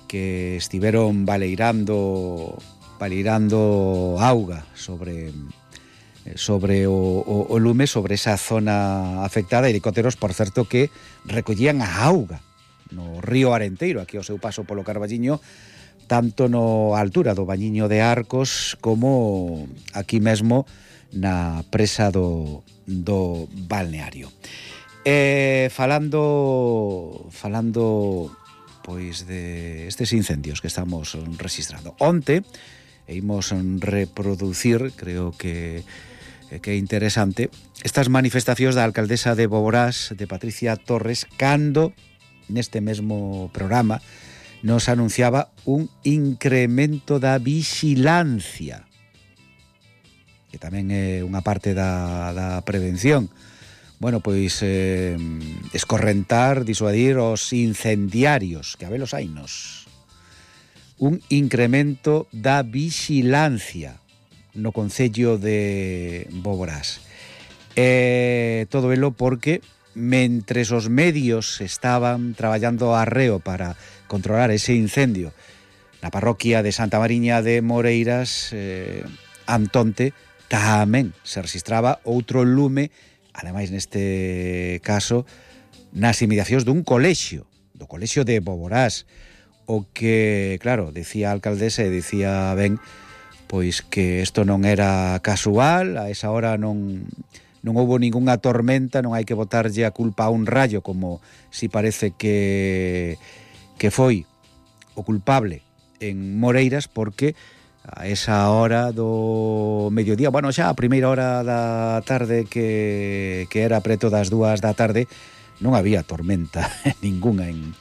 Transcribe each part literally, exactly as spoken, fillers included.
que estiveron baleirando baleirando auga sobre sobre o, o, o lume, sobre esa zona afectada. Helicópteros, por certo, que recollían a auga no río Arenteiro, aquí ao seu paso polo Carballiño, tanto no altura do Bañiño de Arcos como aquí mesmo na presa do, do balneario. Eh, falando falando pois de estes incendios que estamos registrando. Onte imos reproducir, creo que que é interesante, estas manifestacións da alcaldesa de Boborás, de Patricia Torres, cando neste mesmo programa nos anunciaba un incremento da vixilancia, que tamén é unha parte da, da prevención. Bueno, pois eh, escorrentar, disuadir os incendiarios, que a velos hainos. Un incremento da vixilancia no concello de Boborás. Eh, todo elo porque mentres os medios estaban traballando arreo para controlar ese incendio na parroquia de Santa Mariña de Moreiras, eh, Antonte, tamén se registraba outro lume, ademais neste caso nas inmediacións dun colexio, do colexio de Boborás, o que, claro, decía a alcaldesa e decía ben, pois que isto non era casual, a esa hora non non houbo ningunha tormenta, non hai que botarlle a culpa a un rayo, como si parece que que foi o culpable en Moreiras, porque a esa hora do mediodía, bueno, xa a primeira hora da tarde, que, que era preto das dúas da tarde, non había tormenta ningunha en,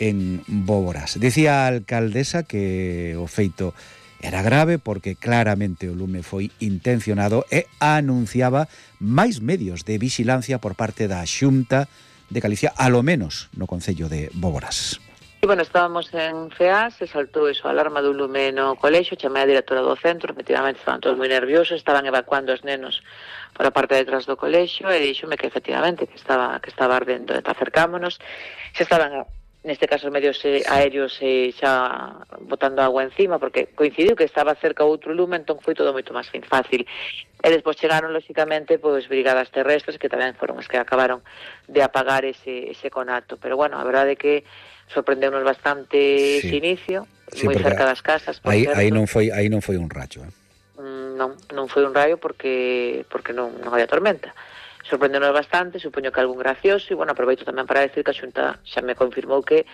en Boborás. Dicía a alcaldesa que o feito era grave porque claramente o lume foi intencionado e anunciaba máis medios de vixilancia por parte da Xunta de Galicia, alo menos no concello de Boborás. E, bueno, estábamos en C E A, se saltou eso, a alarma do lume no colexio, chamei a directora do centro, efectivamente estaban todos moi nerviosos, estaban evacuando os nenos para a parte de detrás do colexio, e díxome que efectivamente que estaba que estaba ardendo. E acercámonos, xa estaban, neste caso, os medios aéreos e xa botando agua encima, porque coincidiu que estaba cerca outro lume, entón foi todo moito máis fácil. E despois chegaron, lóxicamente, pois brigadas terrestres, que tamén foron as que acabaron de apagar ese, ese conato. Pero, bueno, a verdade é que sorprendeunos bastante sí. ese inicio, sí, moi cerca das casas. Aí, aí, non foi, aí non foi un rayo, eh? Mm, non, non foi un rayo porque porque non, non había tormenta. Sorprendeunos bastante, supoño que algún gracioso, e, bueno, aproveito tamén para decir que a Xunta xa me confirmou que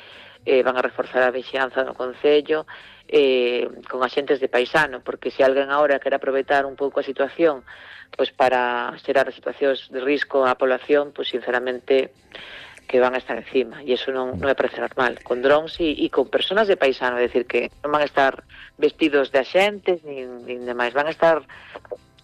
eh, van a reforzar a vixianza no concello eh, con axentes de paisano, porque se alguén agora quere aproveitar un pouco a situación pois para xerar situacións de risco á población, pois sinceramente que van a estar encima, e iso non, non me parece normal, con drones e, e con personas de paisano, é dicir, que non van a estar vestidos de axentes, nin, nin demais, van a estar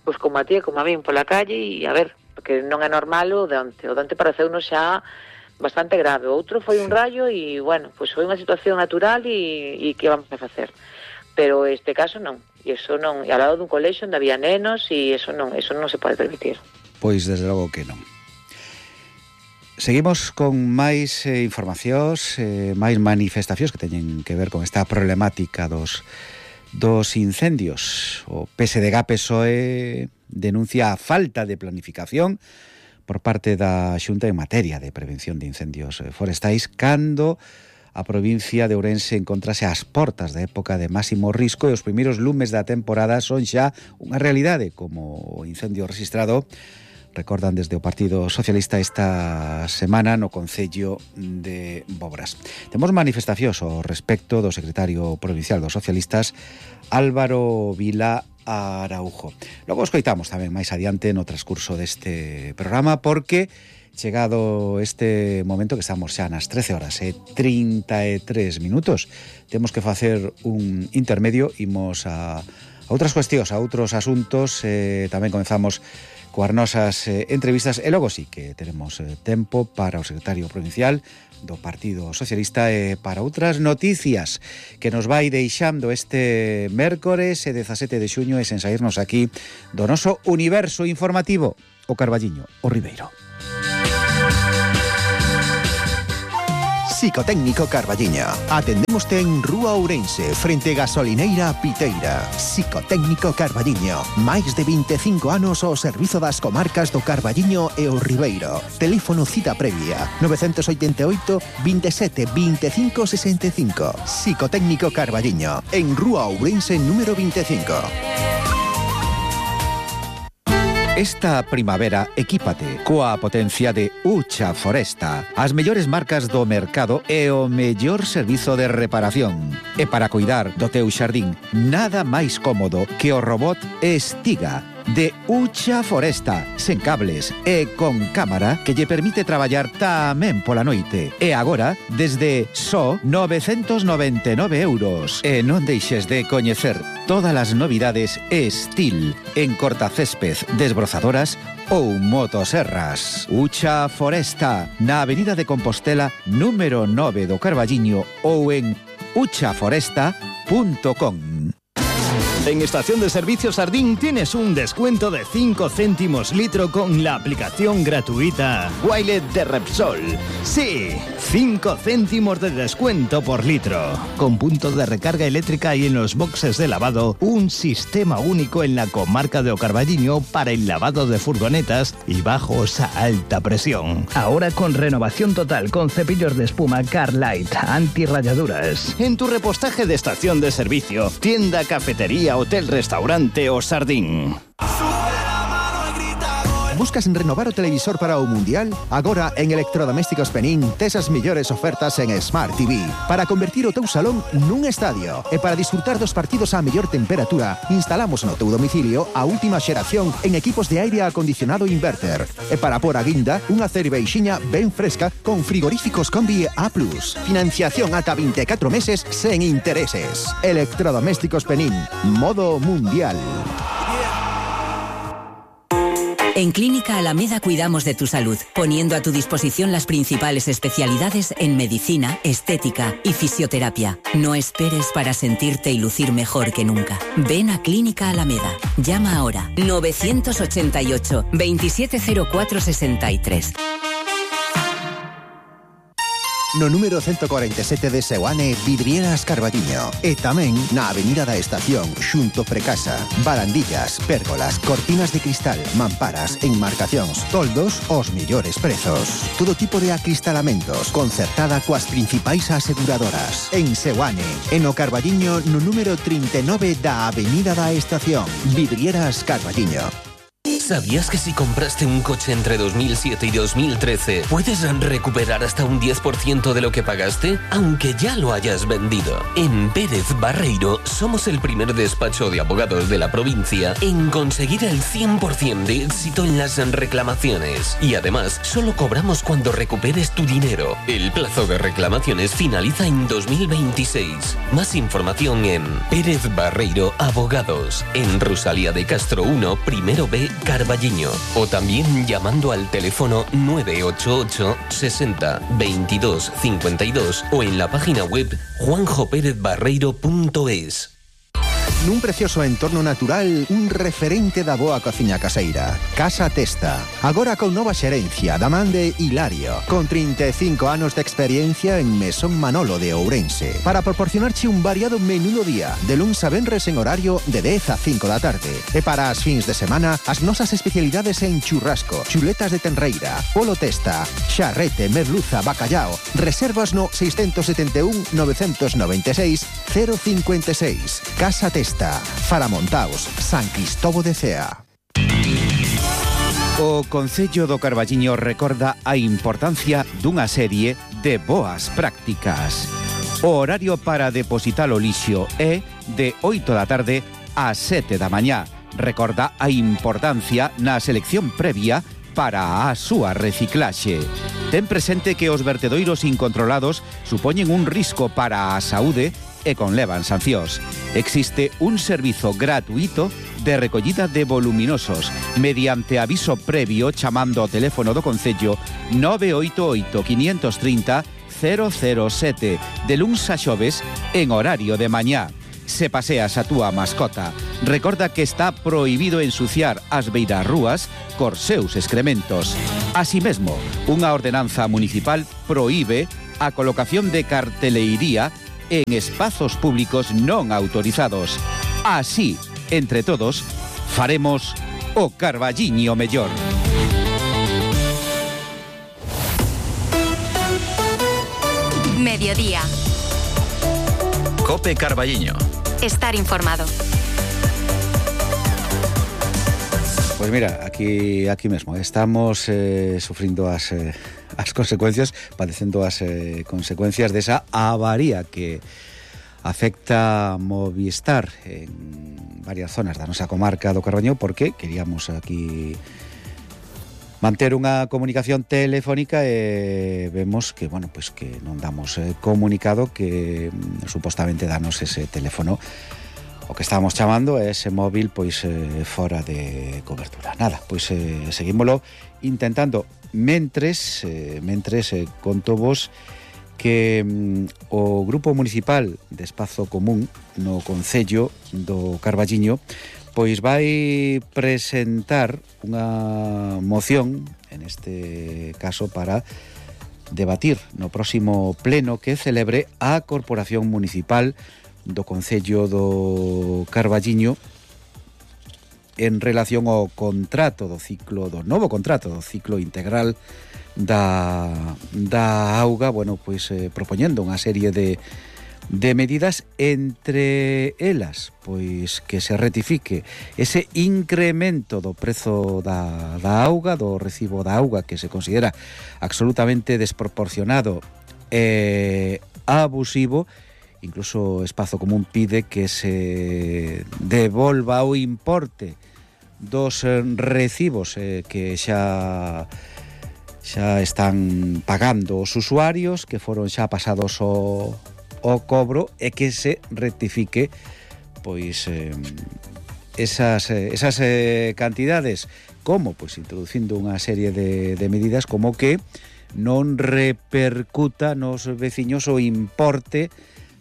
pois como a ti, como a min, pola calle, e a ver, porque non é normal o de onte, o de onte pareceunos xa bastante grave, outro foi un rayo e, bueno, pois foi unha situación natural e, e que vamos a facer, pero este caso non, e iso non, e ao lado dun colexio onde había nenos, e iso non, iso non se pode permitir. Pois desde logo que non. Seguimos con máis eh, informacións, eh, máis manifestacións que teñen que ver con esta problemática dos, dos incendios. O P S D G P S O E denuncia a falta de planificación por parte da Xunta en materia de prevención de incendios forestais, cando a provincia de Ourense encontrase ás portas da época de máximo risco e os primeiros lumes da temporada son xa unha realidade, como o incendio registrado, recordan desde o Partido Socialista esta semana no concello de Boborás. Temos manifestacións ao respecto do secretario provincial dos socialistas, Álvaro Vila Araujo. Logo escoitamos tamén máis adiante no transcurso deste programa, porque chegado este momento que estamos xa nas trece horas e trinta e tres minutos, temos que facer un intermedio, imos a, a outras cuestións, a outros asuntos, eh, tamén comenzamos coas nosas eh, entrevistas, e logo sí que tenemos eh, tempo para o secretario provincial do Partido Socialista e para outras noticias que nos vai deixando este mércores e dezasete de xuño, e sen saírnos aquí do noso universo informativo, o Carballiño, o Ribeiro. Psicotécnico Carballiño. Atendémoste en Rúa Ourense, frente Gasolineira Piteira. Psicotécnico Carballiño. Máis de veinticinco anos ao servizo das comarcas do Carballiño e o Ribeiro. Teléfono cita previa nove oito oito, veintisiete, veinticinco, sesenta y cinco. Psicotécnico Carballiño, en Rúa Ourense número veinticinco. Esta primavera equípate coa potencia de Ucha Foresta, as mellores marcas do mercado e o mellor servizo de reparación. E para cuidar do teu xardín, nada máis cómodo que o robot Estiga de Ucha Foresta, sen cables e con cámara que lle permite traballar tamén pola noite. E agora, desde só novecentos noventa e nove euros. E non deixes de coñecer todas as novidades Estil en cortacésped, desbrozadoras ou motoserras. Ucha Foresta, na Avenida de Compostela, número nove do Carballiño ou en ucha foresta punto com. En Estación de Servicio Sardín tienes un descuento de cinco céntimos litro con la aplicación gratuita Wilet de Repsol. Sí, cinco céntimos de descuento por litro. Con puntos de recarga eléctrica y en los boxes de lavado, un sistema único en la comarca de O Carballiño para el lavado de furgonetas y bajos a alta presión. Ahora con renovación total con cepillos de espuma Carlight, antirrayaduras. En tu repostaje de estación de servicio, tienda, cafetería, hotel, restaurante o Sardín. Buscas renovar o televisor para o Mundial? Agora en Electrodomésticos Penín tes as mellores ofertas en Smart T V para convertir o teu salón nun estadio. E para disfrutar dos partidos a mellor temperatura, instalamos no teu domicilio a última xeración en equipos de aire acondicionado inverter. E para por a guinda, unha cerveixiña ben fresca con frigoríficos Combi A plus. Financiación ata vinte e catro meses sen intereses. Electrodomésticos Penín, modo Mundial. En Clínica Alameda cuidamos de tu salud, poniendo a tu disposición las principales especialidades en medicina, estética y fisioterapia. No esperes para sentirte y lucir mejor que nunca. Ven a Clínica Alameda. Llama ahora nueve ocho ocho, veintisiete cero cuatro sesenta y tres. No número ciento cuarenta y siete de Seoane, Vidrieras Carballiño. E tamén na Avenida da Estación, xunto Precasa. Barandillas, pérgolas, cortinas de cristal, mamparas, enmarcacións, toldos, os millores prezos. Todo tipo de acristalamentos, concertada coas principais aseguradoras. En Seoane, en o Carballiño, no número treinta y nueve da Avenida da Estación. Vidrieras Carballiño. ¿Sabías que si compraste un coche entre dos mil siete y dos mil trece puedes recuperar hasta un diez por ciento de lo que pagaste, aunque ya lo hayas vendido? En Pérez Barreiro somos el primer despacho de abogados de la provincia en conseguir el cien por ciento de éxito en las reclamaciones. Y además, solo cobramos cuando recuperes tu dinero. El plazo de reclamaciones finaliza en dos mil veintiséis. Más información en Pérez Barreiro Abogados, en Rosalía de Castro uno, primero B, Carballiño, o también llamando al teléfono nueve ocho ocho, sesenta, veintidós, cincuenta y dos o en la página web juanjo pérez barreiro punto es. Nun precioso entorno natural, un referente da boa cociña caseira. Casa Testa. Agora con nova xerencia da man de Hilario, con trinta e cinco anos de experiencia en Mesón Manolo de Ourense, para proporcionarche un variado menú do día, de luns a venres en horario de dez a cinco da tarde. E para as fins de semana, as nosas especialidades en churrasco, chuletas de tenreira, polo testa, charrete, merluza, bacallao. Reservas no seis sete un, nove nove seis, cero cinco seis. Casa Testa. Faramontaos, San Cristobo de Cea. O Concello do Carballiño recorda a importancia dunha serie de boas prácticas. O horario para depositar o lixo é de oito da tarde a sete da mañá. Recorda a importancia na selección previa para a súa reciclaxe. Ten presente que os vertedoiros incontrolados supoñen un risco para a saúde e conlevan sancións. Existe un servizo gratuito de recollida de voluminosos mediante aviso previo chamando ao teléfono do Concello nove oito oito, cinco tres cero, cero cero sete de luns a xoves en horario de mañá. Se paseas a túa mascota, recorda que está prohibido ensuciar as beirarrúas cos seus excrementos. Así mesmo, unha ordenanza municipal proíbe a colocación de carteleiría en espazos públicos non autorizados. Así, entre todos, faremos o Carballiño mellor. Mediodía. Cope Carballiño. Estar informado. Pues mira, aquí aquí mesmo estamos eh, sufrindo as, eh, as consecuencias, padecendo as eh, consecuencias desa avaría que afecta Movistar en varias zonas da nosa comarca do Carballiño, porque queríamos aquí manter unha comunicación telefónica e vemos que, bueno, pues que non damos eh, comunicado que mm, supostamente danos ese teléfono. O que estábamos chamando é ese móvil pois eh, fora de cobertura. Nada, pois eh, seguímolo intentando. Mentres, eh, mentres eh, conto vos que mm, o Grupo Municipal de Espazo Común no Concello do Carballiño pois vai presentar unha moción, en este caso para debatir no próximo pleno que celebre a Corporación Municipal do Concello do Carballiño en relación ao contrato do ciclo, do novo contrato do ciclo integral da, da auga, bueno, pois eh, propoñendo unha serie de, de medidas, entre elas, pois que se retifique ese incremento do prezo da, da auga, do recibo da auga, que se considera absolutamente desproporcionado e abusivo. Incluso Espazo Común pide que se devolva o importe dos recibos eh, que xa xa están pagando os usuarios, que foron xa pasados o, o cobro, e que se rectifique pois eh, esas, esas eh, cantidades, como pois introducindo unha serie de, de medidas como que non repercuta nos veciños o importe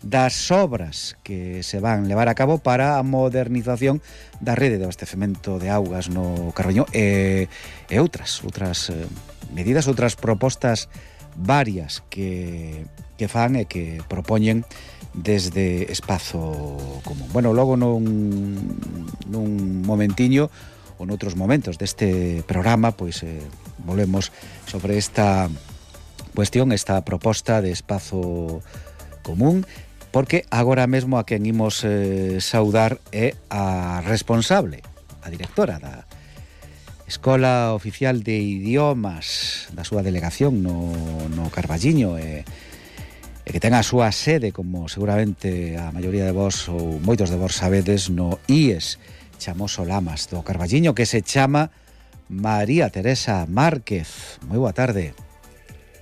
das obras que se van levar a cabo para a modernización da rede de abastecemento de augas no Carballiño e, e outras outras eh, medidas, outras propostas varias que, que fan e que propoñen desde Espazo Común. Bueno, logo nun, nun momentiño ou noutros momentos deste programa, pois eh, volvemos sobre esta cuestión, esta proposta de Espazo Común, porque agora mesmo a quen imos eh, saudar é a responsable, a directora da Escola Oficial de Idiomas da súa delegación no, no Carballiño, e, e que ten a súa sede, como seguramente a maioría de vos ou moitos de vos sabedes, no I E S Chamoso Lamas do Carballiño, que se chama María Teresa Márquez. Moi boa tarde.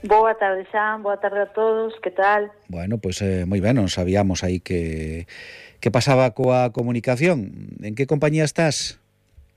Boa tarde, Xan, boa tarde a todos, que tal? Bueno, pois pues, eh, moi ben, non sabíamos aí que que pasaba coa comunicación. En que compañía estás?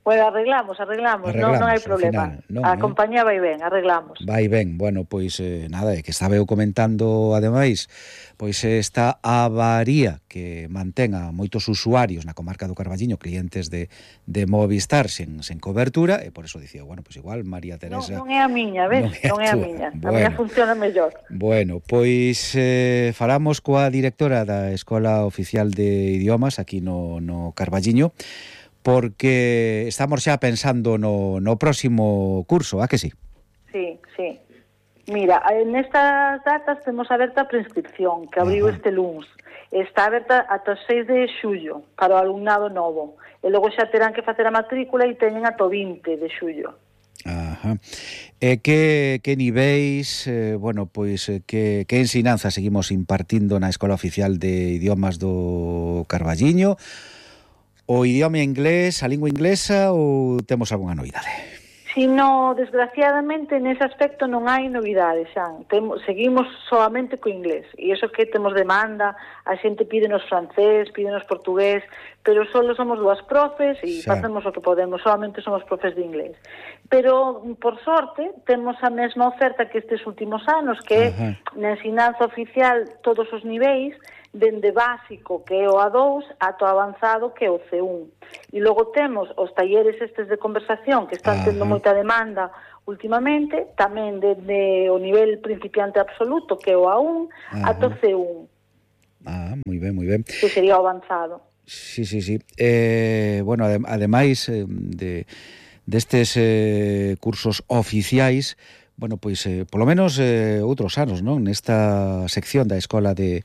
Bueno, arreglamos, arreglamos, arreglamos non, non hai problema. Final, non, a eh? compañía vai ben, arreglamos. Vai ben, bueno, pois eh, nada, é que estaba eu comentando ademais, pois esta avaría que mantén a moitos usuarios na comarca do Carballiño, clientes de, de Movistar sen, sen cobertura, e por eso dicía, bueno, pois igual María Teresa... Non, non é a miña, ves? Non é, non é a miña, bueno, a miña funciona mellor. Bueno, pois eh, falamos coa directora da Escola Oficial de Idiomas aquí no, no Carballiño, porque estamos xa pensando no, no próximo curso, a que sí? Sí, sí. Mira, nestas datas temos aberta a prescripción, que abriu este luns. Está aberta ata o seis de xullo para o alumnado novo. E logo xa terán que facer a matrícula e teñen ata o vinte de xullo. Ajá. E que, que niveis, eh, bueno, pois, eh, que, que ensinanza seguimos impartindo na Escola Oficial de Idiomas do Carballiño? O idioma inglés, a lingua inglesa, ou temos algunha novidade? Si no, desgraciadamente, nese aspecto non hai novidades, Xan. Temos, seguimos solamente co inglés. E iso que temos demanda, a xente pídenos francés, pídenos portugués, pero solo somos dúas profes e xa facemos o que podemos, solamente somos profes de inglés. Pero, por sorte, temos a mesma oferta que estes últimos anos, que é na ensinanza oficial todos os niveis, dende básico, que é o A dous, ato avanzado, que é o C un. E logo temos os talleres estes de conversación, que están tendo moita demanda, últimamente, tamén desde o nivel principiante absoluto, que é o A un, ata o C un. Ah, moi ben, moi ben. Que sería o avanzado. Sí, sí, sí. Eh, bueno, adem ademais eh, de destes eh, cursos oficiais, bueno, pois, eh, polo menos eh, outros anos, non? Nesta sección da Escola de,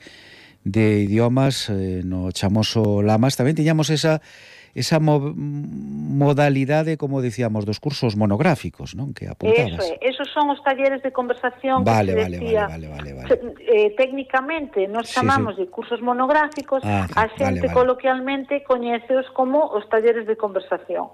de Idiomas, eh, no chamoso Lamas, tamén tiñamos esa esa mo modalidade, como dicíamos, dos cursos monográficos, non? Que apuntabas. Eso é, esos son os talleres de conversación vale, que se vale, decía, vale, vale, vale, vale. Eh, técnicamente nos chamamos sí, sí. de cursos monográficos, ah, a xente vale, vale. coloquialmente coñeceos como os talleres de conversación.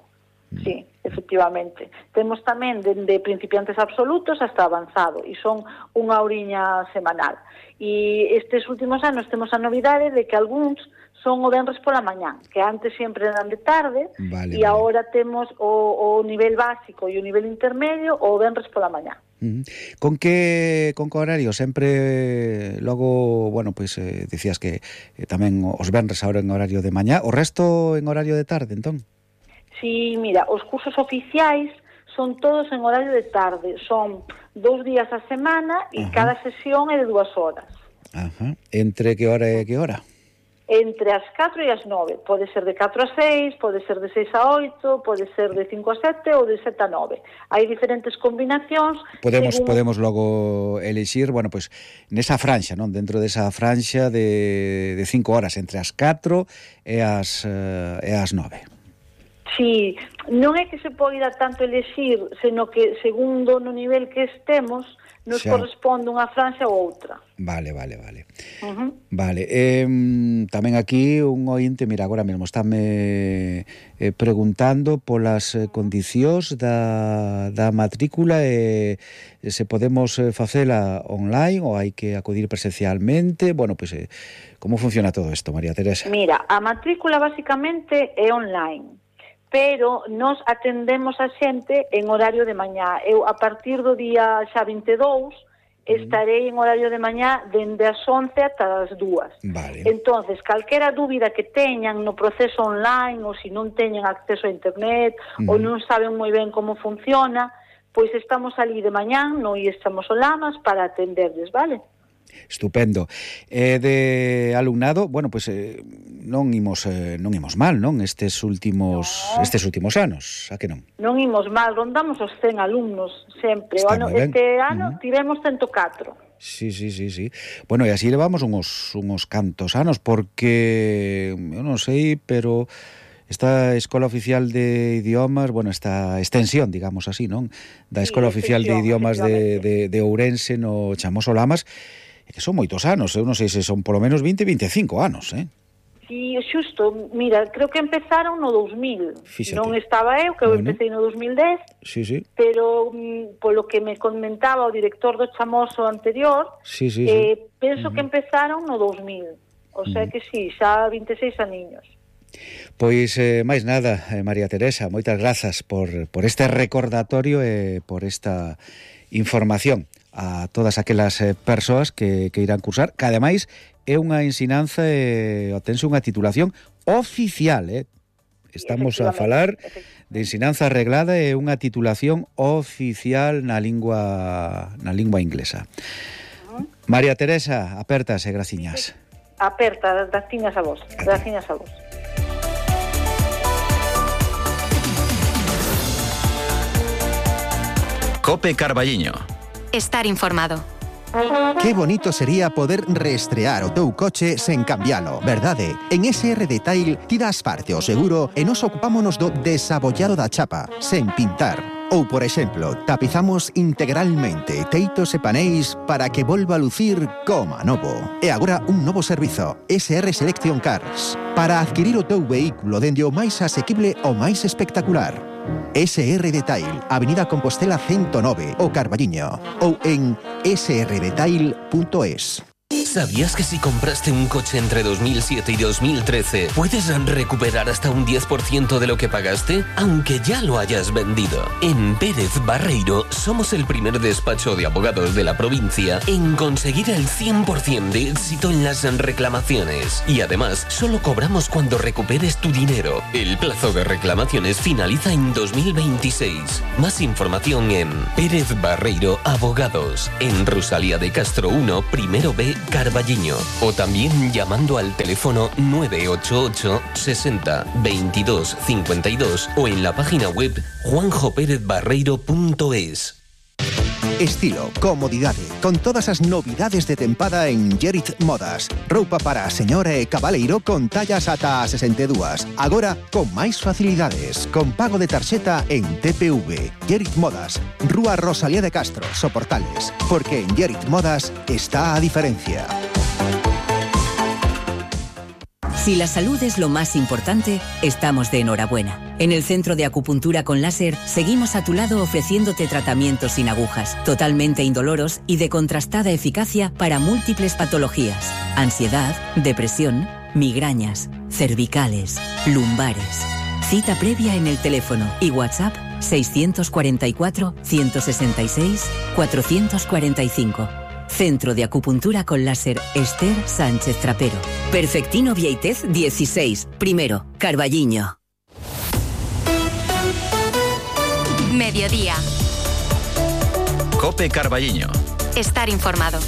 Mm. Sí, efectivamente. Temos tamén dende principiantes absolutos hasta avanzado, e son unha horiña semanal. E estes últimos anos temos a novidade de que algúns son o venres pola mañán, que antes sempre eran de tarde, vale, e vale. agora temos o, o nivel básico e o nivel intermedio o venres pola mañán. Uh-huh. Con que con que horario? Sempre logo, bueno, pois pues, eh, dicías que eh, tamén os venres agora en horario de mañá, o resto en horario de tarde, entón? Sí, mira, os cursos oficiais son todos en horario de tarde, son dous días a semana e uh-huh. cada sesión é de dúas horas. Ajá. Entre que hora e que hora? Entre as catro e as nove. Pode ser de catro a seis, pode ser de seis a oito, pode ser de cinco a sete ou de sete a nove. Hai diferentes combinacións. Podemos según... podemos logo elixir, bueno, pois pues, nesa franxa, non? Dentro desa franxa de, de cinco horas, entre as catro e as, uh, e as nove. Sí, non é que se poida tanto elixir, seno que segundo no nivel que estemos, nos xa corresponde unha franxa ou outra. Vale, vale, vale. Uh-huh. Vale, eh, tamén aquí un ointe, mira, agora mesmo estáme eh, preguntando polas eh, condicións da, da matrícula e eh, se podemos eh, facela online ou hai que acudir presencialmente. Bueno, pois, pues, eh, como funciona todo isto, María Teresa? Mira, a matrícula basicamente é online, pero nos atendemos a xente en horario de mañá. Eu, a partir do día xa vinte e dous, estarei en horario de mañá dende as once ata as dúas. Vale. Entonces, calquera dúbida que teñan no proceso online, ou se non teñen acceso a internet, uh-huh. ou non saben moi ben como funciona, pois estamos ali de mañán, no I estamos o Lamas, para atenderles, vale? Estupendo. Eh, de alumnado, bueno, pois pues, eh, non imos eh, non imos mal, non? Estes últimos no. estes últimos anos, a que non? Non imos mal, rondamos os cen alumnos sempre. O ano, este ano uh-huh. tivemos ciento catro. Sí, sí, sí, sí. Bueno, e así levamos uns uns cantos anos, porque eu non sei, pero esta Escola Oficial de Idiomas, bueno, esta extensión, digamos así, non? Da Escola sí, Oficial de Idiomas de, de, de Ourense no chamoso Lamas, que son moitos anos, eu non sei se son polo menos vinte, veinticinco anos, eh? Sí, xusto, mira, creo que empezaron no dous mil. Fíxate. Non estaba eu, que eu bueno. empecé no dos mil dez, sí, sí. pero mm, polo que me comentaba o director do chamoso anterior, sí, sí, eh, sí. penso uh-huh. que empezaron no dos mil. O sea uh-huh. que sí, xa vinte e seis aniños. Pois, eh, máis nada, eh, María Teresa, moitas grazas por, por este recordatorio e por esta información a todas aquelas eh, persoas que, que irán cursar, que ademais é unha ensinanza e obtense unha titulación oficial, eh? Estamos a falar de ensinanza arreglada e unha titulación oficial na lingua na lingua inglesa. Uh-huh. María Teresa, apertas e graciñas. Aperta, graciñas a vos. Graciñas a vos. Cope Carballiño. Estar informado. Qué bonito sería poder reestrear o teu coche sen cambialo, verdade? En S R Detail ti das parte o seguro e nos ocupámonos do desabollado da chapa, sen pintar. Ou, por exemplo, tapizamos integralmente teitos e paneis para que volva a lucir como novo. E agora un novo servizo, S R Selection Cars, para adquirir o teu vehículo dende o máis asequible ao máis espectacular. S R Detail, Avenida Compostela ciento nove, o Carballiño, ou en s r detail punto es. ¿Sabías que si compraste un coche entre dos mil siete y dos mil trece puedes recuperar hasta un diez por ciento de lo que pagaste, aunque ya lo hayas vendido? En Pérez Barreiro somos el primer despacho de abogados de la provincia en conseguir el cien por ciento de éxito en las reclamaciones. Y además, solo cobramos cuando recuperes tu dinero. El plazo de reclamaciones finaliza en dos mil veintiséis. Más información en Pérez Barreiro Abogados, en Rosalía de Castro uno, primero B, Carballiño, o también llamando al teléfono nueve ocho ocho sesenta veintidós cincuenta y dos o en la página web juanjo pérez barreiro punto es. Estilo, comodidade, con todas as novidades de tempada en Gerit Modas. Roupa para a señora e cabaleiro con tallas ata a sesenta e dúas. Agora, con máis facilidades, con pago de tarxeta en T P V. Gerit Modas, Rúa Rosalía de Castro, Soportales. Porque en Gerit Modas está a diferencia. Si la salud es lo más importante, estamos de enhorabuena. En el Centro de Acupuntura con Láser seguimos a tu lado ofreciéndote tratamientos sin agujas, totalmente indoloros y de contrastada eficacia para múltiples patologías: ansiedad, depresión, migrañas, cervicales, lumbares. Cita previa en el teléfono y WhatsApp seiscientos cuarenta y cuatro, ciento sesenta y seis, cuatrocientos cuarenta y cinco. Centro de Acupuntura con Láser Esther Sánchez Trapero. Perfectino Vieitez dieciséis, primero, Carballiño. Mediodía. Cope Carballiño. Estar informado.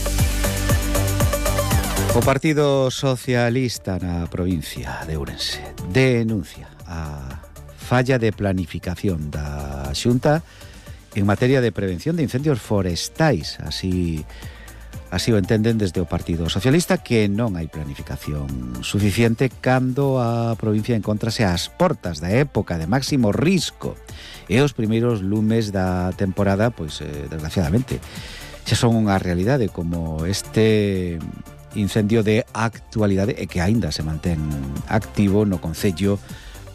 O Partido Socialista na provincia de Ourense denuncia a falla de planificación da Xunta en materia de prevención de incendios forestais. Así Así o entenden desde o Partido Socialista, que non hai planificación suficiente cando a provincia encontrase ás portas da época de máximo risco e os primeiros lumes da temporada, pois, eh, desgraciadamente, xa son unha realidade, como este incendio de actualidade e que aínda se mantén activo no concello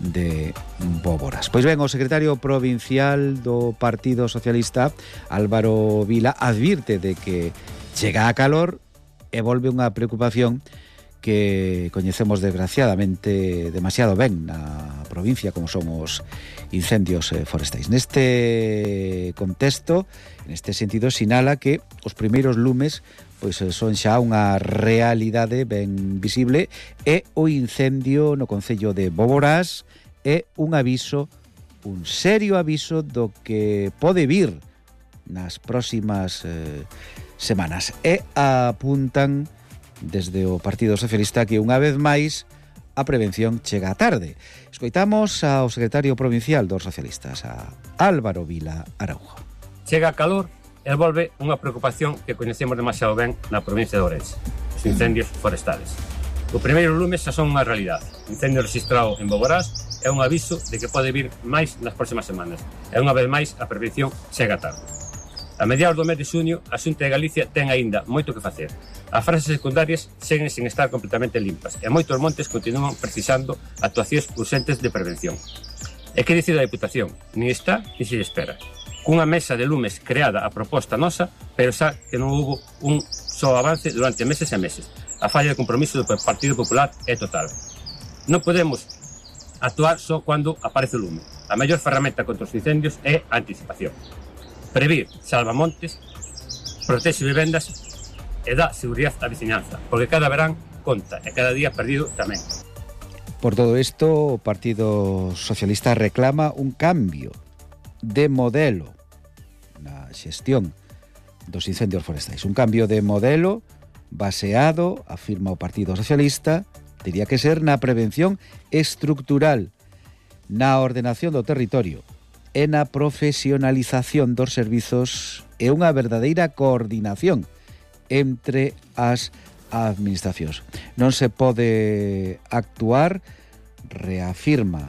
de Bóboras. Pois ben, o secretario provincial do Partido Socialista, Álvaro Vila, advirte de que chega a calor e volve unha preocupación que coñecemos desgraciadamente demasiado ben na provincia, como son os incendios forestais. Neste contexto, neste sentido, sinala que os primeiros lumes pois son xa unha realidade ben visible e o incendio no concello de Bóboras é un aviso, un serio aviso do que pode vir nas próximas eh, semanas. E apuntan desde o Partido Socialista que unha vez máis a prevención chega tarde. Escoitamos ao secretario provincial dos socialistas, a Álvaro Vila Araujo. Chega a calor e volve unha preocupación que coñecemos demasiado ben na provincia de Ourense: os incendios forestales. O primeiro lume xa son unha realidade. O incendio registrado en Bóboras é un aviso de que pode vir máis nas próximas semanas. E unha vez máis a prevención chega tarde. A mediados do mes de xuño, a Xunta de Galicia ten aínda moito que facer. As frases secundarias seguen sin estar completamente limpas e moitos montes continúan precisando actuacións urxentes de prevención. E que dicir da Diputación? Ni está, ni se espera. Cunha mesa de lumes creada a proposta nosa, pero xa que non houbo un só avance durante meses e meses. A falla de compromiso do Partido Popular é total. Non podemos actuar só cando aparece o lume. A mellor ferramenta contra os incendios é a anticipación. Previr salva montes, protexe vivendas e dá seguridade á veciñanza, porque cada verán conta e cada día perdido tamén. Por todo isto, o Partido Socialista reclama un cambio de modelo na xestión dos incendios forestais. Un cambio de modelo baseado, afirma o Partido Socialista, tería que ser na prevención estructural, na ordenación do territorio, e na profesionalización dos servizos e unha verdadeira coordinación entre as administracións. Non se pode actuar, reafirma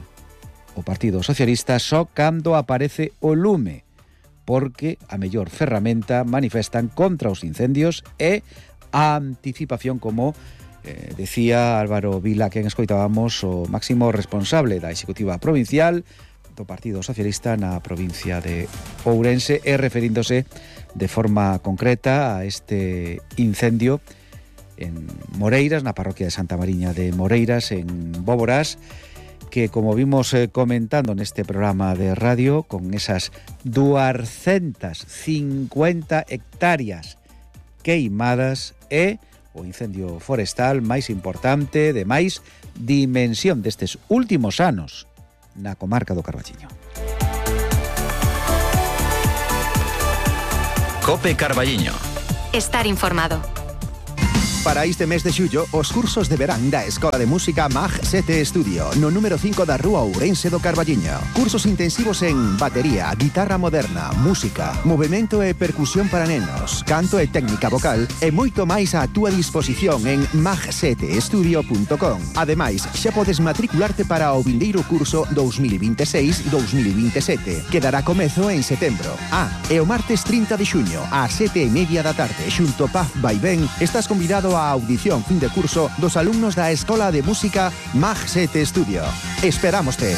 o Partido Socialista, só cando aparece o lume, porque a mellor ferramenta, manifestan, contra os incendios é a anticipación, como eh, decía Álvaro Vila, quen escoitábamos, o máximo responsable da Executiva Provincial do Partido Socialista na provincia de Ourense, e referíndose de forma concreta a este incendio en Moreiras, na parroquia de Santa Mariña de Moreiras, en Bóboras, que como vimos eh, comentando neste programa de radio, con esas doscientas cincuenta hectáreas queimadas, é o incendio forestal máis importante, de máis dimensión destes últimos anos na comarca do Carballiño. Cope Carballiño. Estar informado. Para este mes de xullo, os cursos de verán da Escola de Música Mag sete Estudio, no número cinco da Rúa Ourense do Carballiño. Cursos intensivos en batería, guitarra moderna, música, movimento e percusión para nenos, canto e técnica vocal e moito máis á túa disposición en mag sete estudio punto com. Ademais, xa podes matricularte para o vindeiro curso dous mil vinte e seis dous mil vinte e sete, que dará comezo en setembro. Ah, e o martes trinta de xuño, ás sete e media da tarde, xunto Paz Vaivén, estás convidado a audición fin de curso dos alumnos da Escola de Música Mag sete Estudio. Esperámoste.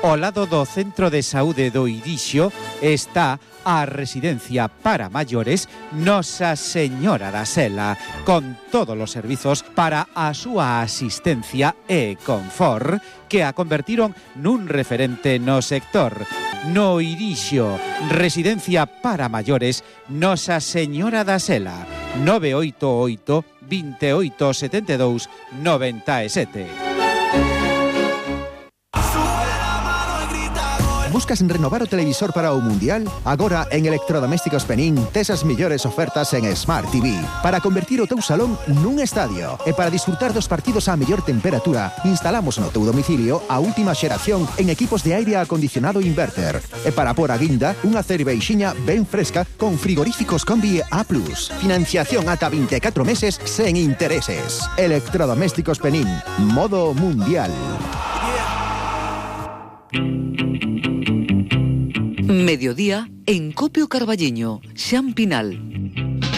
Ao lado do Centro de Saúde do Irixo está a residencia para maiores Nosa Señora da Sela, con todos os servizos para a súa asistencia e confort, que a convertiron nun referente no sector. No Irixo, residencia para maiores Nosa Señora da Sela, nove oito oito, veintiocho setenta e dous, noventa e sete. Buscas renovar o televisor para o Mundial? Agora en Electrodomésticos Penín tes as mellores ofertas en Smart T V para convertir o teu salón nun estadio. E para disfrutar dos partidos a mellor temperatura, instalamos no teu domicilio a última xeración en equipos de aire acondicionado inverter. E para por a guinda, unha cerveixiña ben fresca con frigoríficos Combi A plus. Financiación ata vinte e catro meses sen intereses. Electrodomésticos Penín, modo Mundial. Mediodía en Copio Carballiño, Xan Pinal.